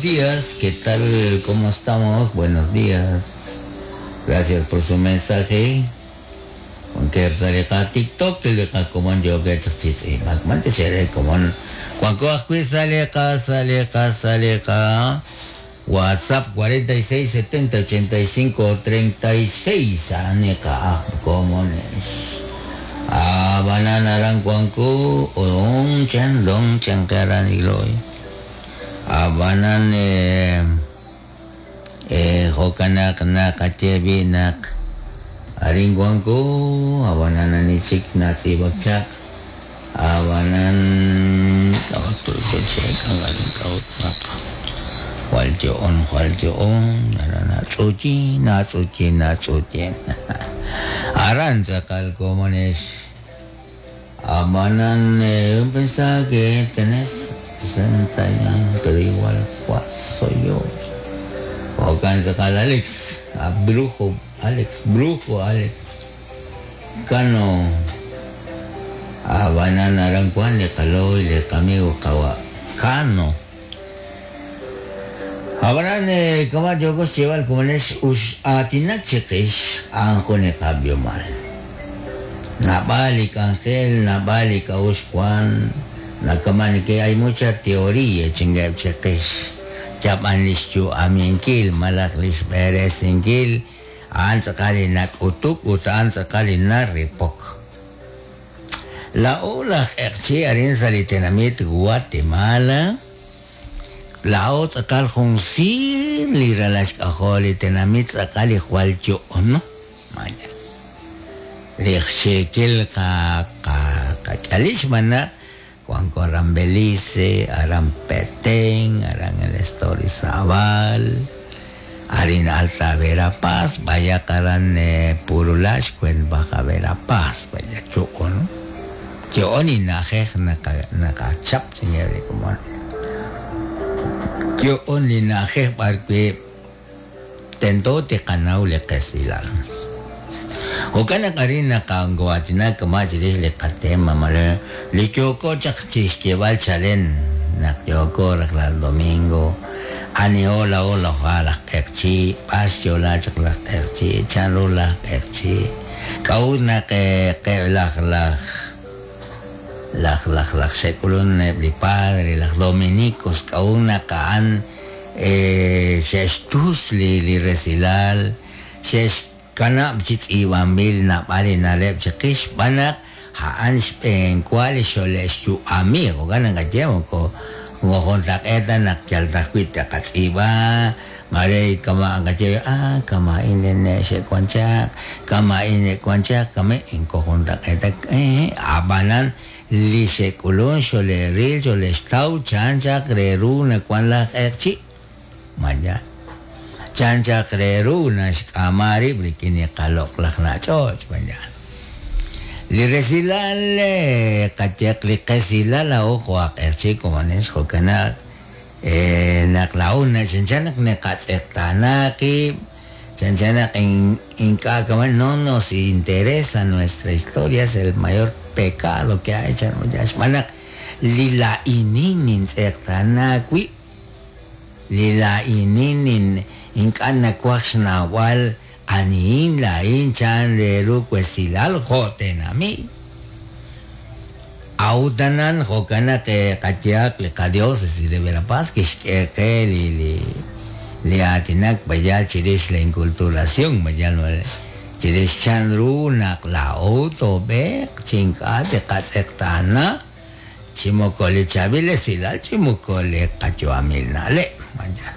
Buenos días, ¿qué tal? ¿Cómo estamos? Buenos días. Gracias por su mensaje. Wankeb' sa' li qaTikTok, li qakomon yookeb' chaq chi tz'iib'ak. B'antiox eere komon. Wanko ajwi' sa' li qa sa' li qa sa' li qa WhatsApp 46 70 85 36 a'an li qa'aj komonex. Ab'anan aran wanko on chan lon chan qe aran igloy. Ab'anan jo'kan naq naqaye b'i' naq arin wanko ab'anan ani chik natz'iib'ak chaq ab'anan k'a'ut naq jwal yo'on jwal yo'on natz'uyin natz'uyin natz'uyin aran tz'aqal komonex ab'anan yo pensaba que tenés 60 años pero igual soy yo jo'kan tz'aqal Alex a brujo Alex brujo Alex Cano ab'anan aran wan li qaloy li qamigo qawa' Cano ab'anan kama' yooko xyeeb'al komonex ux aatinak chiqix a'an jun li qab'ihomal naab'al li k'anjel naab'al li k'a'uxl wan nakama' neke hay mucha teoría chinkeb' chiqix chab'an li xyu'aminkil malaj li xb'eresinkil a'an tz'aqal li nak'utuk ut a'an tz'aqal li naripok. Laa'o laj q'eqchi' arin sa' li tenamit Guatemala laa'o tz'aqal jun siir li ralal xk'ajol li tenamit tz'aqal li jwal yo'ono maya li xeekil qak'alil xb'aan naq wanko aran Belice, aran Petén, aran el estado Izabal, arin Alta Verapaz, b'ayaq aran Purulá xkwent Baja Verapaz vaya yo'on yo'on li na'ajej naqachap chinkeb' li komon yo'on li na'ajej b'arwi' tento tiqanaw li qesilal. Jo'kan naq arin naqango'aatinak kama' chirix li qatema mare li yooko chaq chi xyeeb'al chalen naq yooko rajlal domingo aniho laa'o laj q'eqchi' b'ar xyo'la chaq laj q'eqchi' chanru laj q'eqchi' k'a'ut naq qeb' laj laj laj laj laj xe'k'ulun eb' li padre laj dominicos k'a'ut naq a'an xe'xtus li resilal xe'xkanab' chi tz'iib'anb'il naab'al li na'leb' chiqix xb'aan naq a'an xb'eenwa li xole'xyu'ami jo'kan naqaye moko juntaq'eet ta naq yal ta ajwi' taqatz'iib'a mare kama' naqaye ah kama'in li ne' xe'wan chaq kama'in xe'wan chaq kama' inko juntaq'eet ta ab'anan li xe'k'ulun xole'ril xole'xtaw chan chaq re ru nawan laj q'eqchi' maya chan chaq re ru naxk'ama rib' rik'in li qaloq'laj na'ch'och' maya li resilal qayeq li qesilal laa'o jo' aj q'eqchi' komonex jo'kan naq naq laa'o chanchan naq naqatz'eqtaana qib' chanchan naq ink'a' kama' no nos interesa nuestra historia es el mayor pecado que hay chan xb'aan naq li laa'inin nintz'eqtaana wib' li laa'inin ink'a' nawaj xnawb'al anihin laa'in chan re ru wesilal jo' tenamit a'utanan jo'kan naq qayehaq li qadiócesis de Verapaz kixk'e qe li li aatinak b'ayal chirix la inculturación b'ayal chirix chan ru naq laa'o toob'eeq chi ink'a' tiqatz'eqtaana chi moko li chaab'il esilal chi moko li qayu'amil na'leb' maya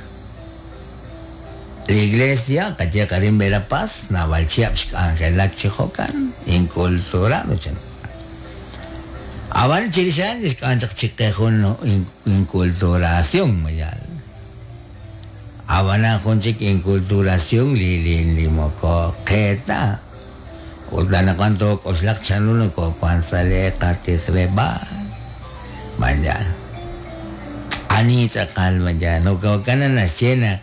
li iglesia qayeq arin Verapaz naab'al chihab' xk'anjelak chi jo'kan inculturado chan ab'an chirix a'an xk'an chaq chiqe jun inculturación mayal ab'anan jun chik inculturación li li li moko qe ta ut anaqwan took'oxlaq chanru nokowan sa' li qatijleb'aal mayal ani tz'aqal maya jo'kan naxye naq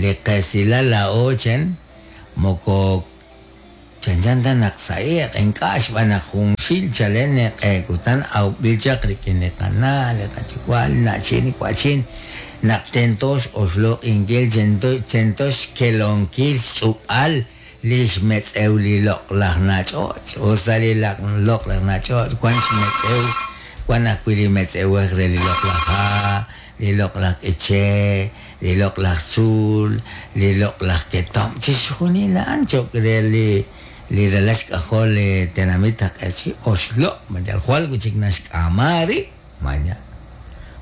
li qesilal laa'o chan moko chanchan ta naq sa'iq ink'a' xb'aan naq junxil chalen q'e kutan awb'il chaq rik'in li qana' li qayuwa' li na'chin li wa'chin Naq tento x'oxloq'inkil tento xkelonkil xtz'ub'al li xmetz'ew li loq'laj nach'och'. Ut sa' li loq'laj nach'och' wan xmetz'ew, wan ajwi' li metz'ewej re li loq'laj ha', li loq'laj k'iche', li loq'laj tzuul, li loq'laj ketomq, chixjunil a'an cho'q re li li ralal xk'ajol li tenamit aj q'eqchi' oxloq' mayal jwal wi' chik naxk'aama rib' maya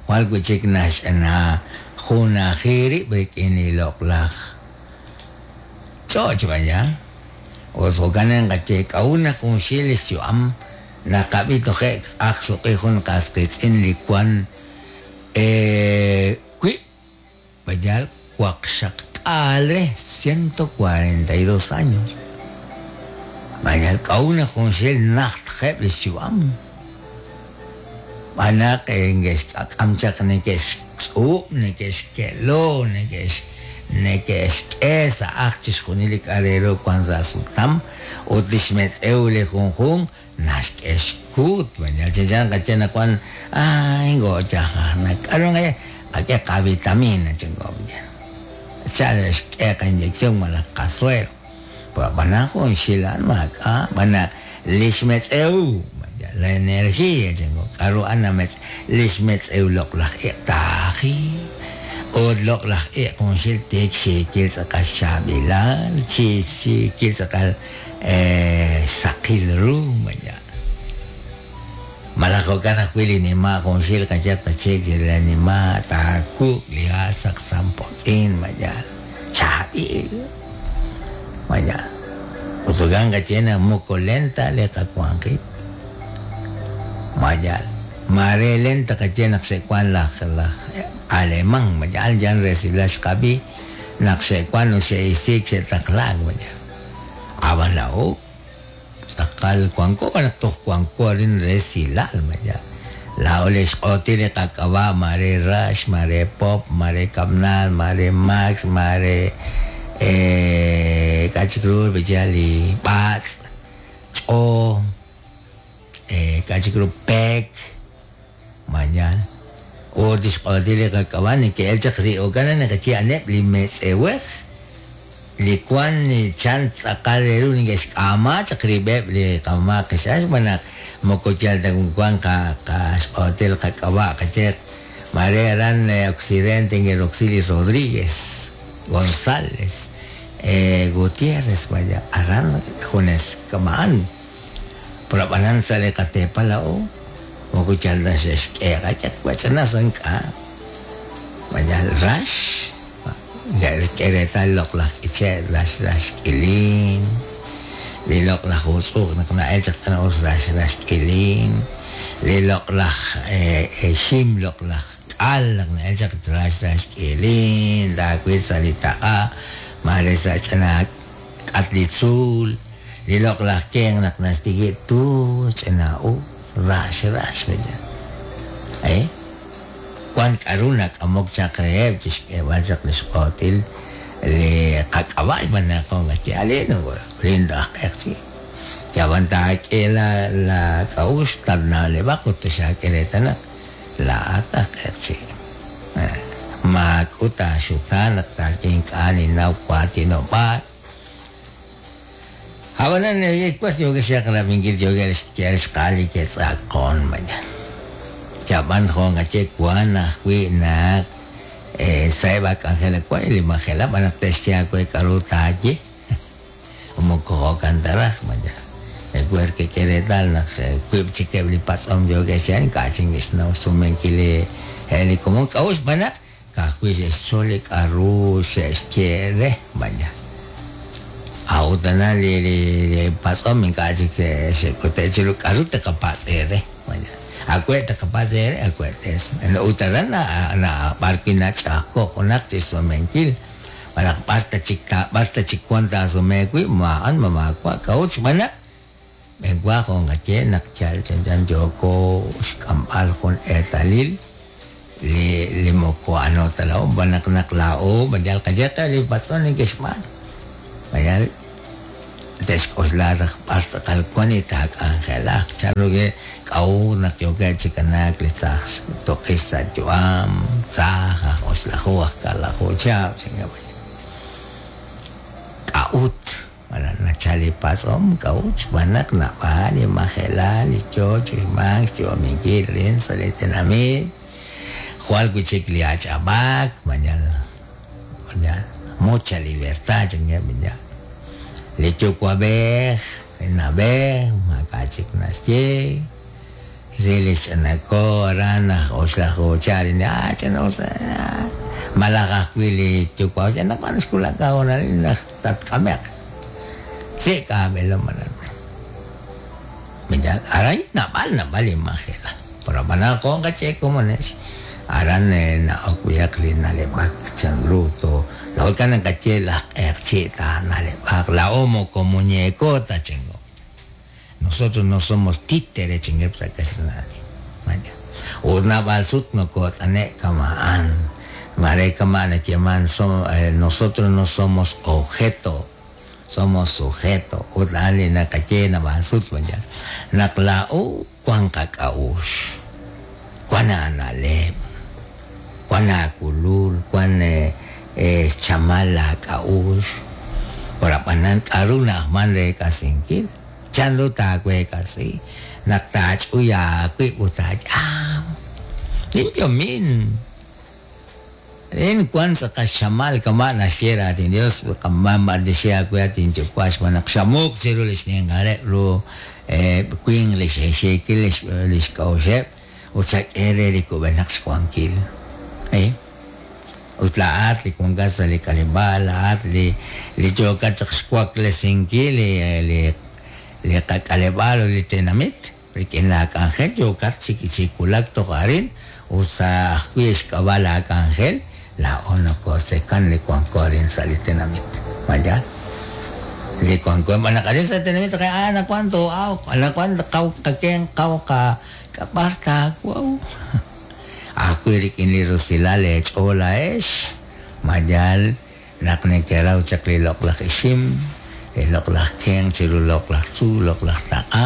jwal wi' chik naxch'ana junaji rib' rik'in li loq'laj ch'och' vaya. Ut jo'kan naqaye k'a'ut naq junxil li xyu'am naqab'i toje' aj suq'i jun qas qiitz'in li wan wi' vaya waqxaqk'aal re 142 años. Vaya k'a'ut naq junxil najtjeb' li xyu'am. B'anaq nge'xk'ak'am chaq neke'xtz'ub', neke'xke'lo, neke'xk'e sa' aj chixjunil li k'a' re ru wan sa' sutam ut li xmetz'ew li junjunq naxk'e xkuut. Vaya chanchan qaye naq wan ay ngo'chajajnak k'aru nqaye qak'e qavitamina chanko chal xk'e qainyección malaj qasuero. Pero b'anaq junxil a'an maak'a' b'anaq li xmetz'ew la energía chanko k'aru a'an li xmetz'ew loq'laj iq' taaji ut loq'laj iq' junxil tik xiikil tz'aqal xchaab'ilal chi xiikil tz'aqal saqil ru vaya. Malaj jo'kan ajwi' li nima' junxil qaye tachik li nima' taakuk' li ha' saqsampotz'in vaya chaab'il vaya. Ut jo'kan qaye naq moko lenta li qawanjik vaya. Mare lenta qaye naq xe'wan laj alemán vaya yan resilal xqab'i naq xe'wan ut xe'isiik xe'taqlaak vaya. Ab'an laa'o tz'aqal wanko naq toj wanko arin resilal vaya. Laa'o li xq'otil li qak'ab'a' mare Rax, mare Pop, mare Kab'nal, mare Max, mare k'a' chik ru vaya li b'atz', ch'o, k'a' chik ru pek, vaya. Ut li xq'otil li qak'ab'a' neke'el chaq ri'okan naqaye a'aneb' li metz'ewej li wan chan tz'aqal re ru neke'xk'aama chaq rib'eb' li qamama' qix'ax xb'aan naq moko yal ta wan qaxq'otil qak'ab'a' qaye mare aran Occidente nge'roksi li Rodríguez, González, Gutiérrez vaya aran junes kama'an. Pero ab'anan sa' li qateepal laa'o moko yal ta xe'xk'e qak'e wach'ana sa' ink'a' vaya rax k'e reetal loq'laj k'iche' rax rax k'ilin, li loq'laj utz'uj naq na'el chaq ch'ina'us rax rax k'ilin, li loq'laj xim loq'laj k'al naq na'el chaq rax rax k'ilin, taawil sa' li taq'a mare sa' ch'ina k'at li tzuul, li loq'laj kenq naq naxtikib' tu ch'ina'us rax rax vaya. Wan k'aru nak'amok chaq reheb' chixk'eeb'al chaq li xq'otil li qak'ab'a' xb'aan naq qaye alin lin aj q'eqchi'. Yab'an taak'e la k'a'uxl tatna'leb'aq ut xaak'e reetal naq laa'at aj q'eqchi'. Maak'ut aaxutaan naq taak'e ink'a' ninnaw waatinob'aal. Ab'anan was yookeb' rab'inkil yookeb' xk'e xq'aal li ke'tz'aqon vaya. Yab'an jo' qaye wan ajwi' naq sa'eb' ak'anjel wan li majelab' b'an naq te'xye aawe k'aru taaye moko jo'kan ta raj vaya. Ewer kek'e reetal naq wiib' chikeb' li patz'om yookeb' xye ink'a' chik neke'xnaw xsumenkil li komon k'a'ut xb'aan naq ka'ajwi' xe'xtzol li k'aru xe'xye re vaya. A'ut tana li patz'om ink'a' chik xe'k'ute' chiru k'aru taqapatz' eere vaya. Awe' taqapatz' eere awe' te'sume. Ut aran b'ar wi' nach'a'ajko' junaq chixsumenkil malaj b'ar ta chik b'ar ta chik wan taasume wi' ma'an ma maawa' k'a'ut xb'aan naq b'enwa jo' nqaye naq yal chanchan yooko xk'amb'al jun eetalil li moko ano ta laa'o b'an naq laa'o yal qaye qe li patz'om neke'xb'aanu. Vaya. Te'xk'oxla raj b'ar tz'aqal wan li taak'anjelaq chan ru ke k'a'ut naq yookeb' chi kanaak li tzaj toq'ix sa' yu'am, tzaj aj oxlaju aj kaalaju chihab' chankeb'. K'a'ut? Malaj nachal li patz'om k'a'ut xb'aan naq naab'al li majelal li yoo chi uxmank xyu'aminkil arin sa' li tenamit, jwal wi' chik li ach'ab'aak, mañal mañal mucha libertad chankeb' mañal. Li yuwa'b'ej, li na'b'ej maak'a' chik naxye, re li xch'inako aran aj oxlaju chihab' ah ch'ina'us malaj ajwi' li yuwa'b'ej anaqwan xwulak aahoonalil naq tatk'ame'q sik' aab'eelom aran. Mañal aran naab'al naab'al li majelal pero ab'anan jo' nqaye komonex aran na'ok b'ayaq li na'leb'ak chan ru to jo'kan naqaye laj q'eqchi' taana'leb'aq laa'o moko muñeco ta chingo. Nosotros no somos títeres chankeb' sa' kaxlan aatin. Mañal. Ut naab'al sut nokot'ane' kama'an mare kama' nayeeman nosotros no somos objeto, somos sujeto. Ut a'an li naqaye naab'al sut mañal naq laa'o wan qak'a'uxl, wan aana'leb', wan aakulul, wan xchamal laak'a'uxl, pero ab'anan k'a'ru na'ajman reek'asinkil, chan ru taaweek'asi naq taach'uy aawib' ut taayam limpio min rin wan tz'aqal xchamal kama' naxye raatin Dios qamamb'antioxi aawe at inyuwa' xb'aan naq xamuq chiru li xninqaleb' ru winq li xe'xiikil li xk'a'uxeb' ut xak'e re li kub'enaq xwankil. Ut laa'at li wankat sa' li k'aleb'aal, laa'at li li yookat chaq xwaklesinkil li li li qak'aleb'aal ut li tenamit rik'in laak'anjel yookat chi chi wulak toj arin ut sa' ajwi' xk'ab'a' laak'anjel laa'o nokotzekan li wanko arin sa' li tenamit. Ma yaal? Li wanko b'an naq arin sa' li tenamit anaqwan too'awq, anaqwan qaw qakenq, qaw qak'ab'ar taawaw. Ajwi' rik'in li rusilal leech'ool laa'ex, ma yaal naq nekeraw chaq li loq'laj ixim, li loq'laj kenq chiru loq'laj tzuul, loq'laj taq'a,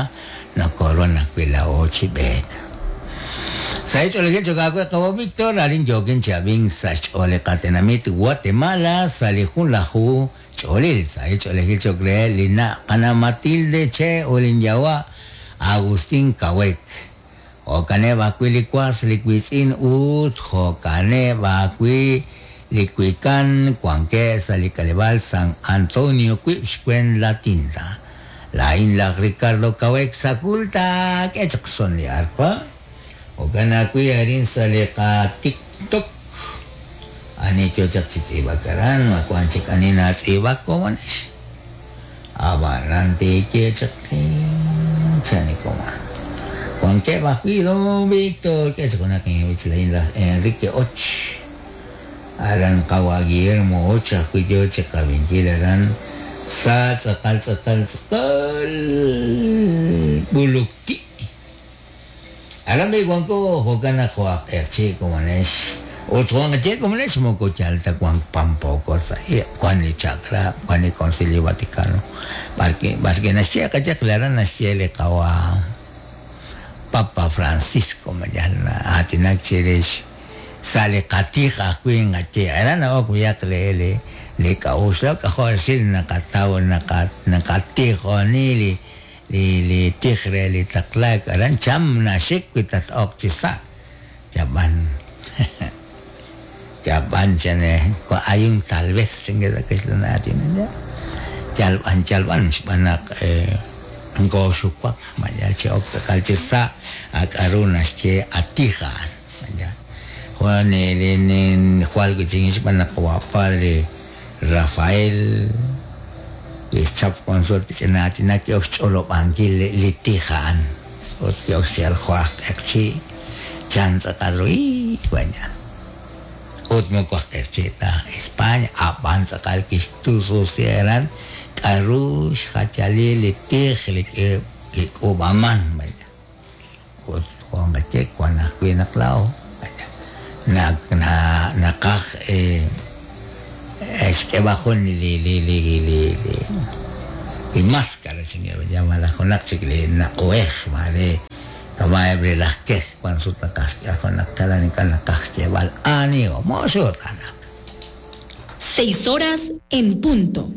nokoruhan ajwi' laa'o chi b'eek. Sa' xch'oolejil cho'q aawe qawa' Víctor, arin yookin chi ab'ink sa' xch'ool li qatenamit Guatemala sa' li junlaju ch'oolil. Sa' xch'oolejil cho'q reheb' li na' qana' Matilde Che ut linyawa' Agustín Kawek. Jo'kaneb' ajwi' li was, li wiitz'in ut jo'kaneb' ajwi' li wikan wankeb' sa' li k'aleb'aal San Antonio wiib' xwen La Tinta. Laa'in laj Ricardo Kawek Sacul taak'e chaq son li arpa. Jo'kan ajwi' arin sa' li qaTikTok ani yo chaq chi tz'iib'ak aran, ma wank chik ani natz'iib'ak komonex. Ab'anan teeye chaq qe chan li komon. Wankeb' ajwi' don Víctor k'e chaq junaq inb'ich laa'in laj Enrique Och. Aran qawa' Guillermo Och ajwi' yo chi qab'inkil aran sa' tz'aqal tz'aqal tz'aqal b'ulukti'. Aran b'i' wanko jo'kan naq jo' aj q'eqchi' komonex ut jo' naqaye komonex moko yal ta wank pampooko sa' iq', wan li chaq'rab', wan li Concilio Vaticano b'arwi' b'arwi' naxye qayehaq li aran naxye li qawa' Papa Francisco ma yal na'aatinak chirix sa' li qatij ajwi' nqaye aran na'ok b'ayaq li li li k'a'uxl k'ajo' resil naqataw naqa naqatijoni li li li tij re li taqlaak aran cham naxik wi tat-ok chi sa' yab'an yab'an chan hay un tal vez chanke sa' kaxlan aatin yalb'an yalb'an xb'aan naq nkooxuwak ma yal chi ok tz'aqal chi sa' a k'a'ru naxye a tij a'an ma yaal jwal li jwal wi' chik xb'aan naq wa padre Rafael kixchap jun sut ch'ina aatinak ki'ok xch'olob'ankil li tij a'an ut ki'ok xyeeb'al jo' aj q'eqchi' chan tz'aqal ru ii mañal. Ut moko aj q'eqchi' ta aj España ab'an tz'aqal kixtususi aran k'a'ru xjachalil li tij li kik'uub'aman mañal. Ut jo' nqaye wan ajwi' naq laa'o naqaj xk'eeb'al jun li li li li li li maskara chankeb', ya malaj junaq chik li naq'uhej maare kama'eb' li laj kej wan sut naqaj xk'e junaq jalan ink'a' naqaj xyeeb'al aniho mooxutaanaq. Seis horas en punto.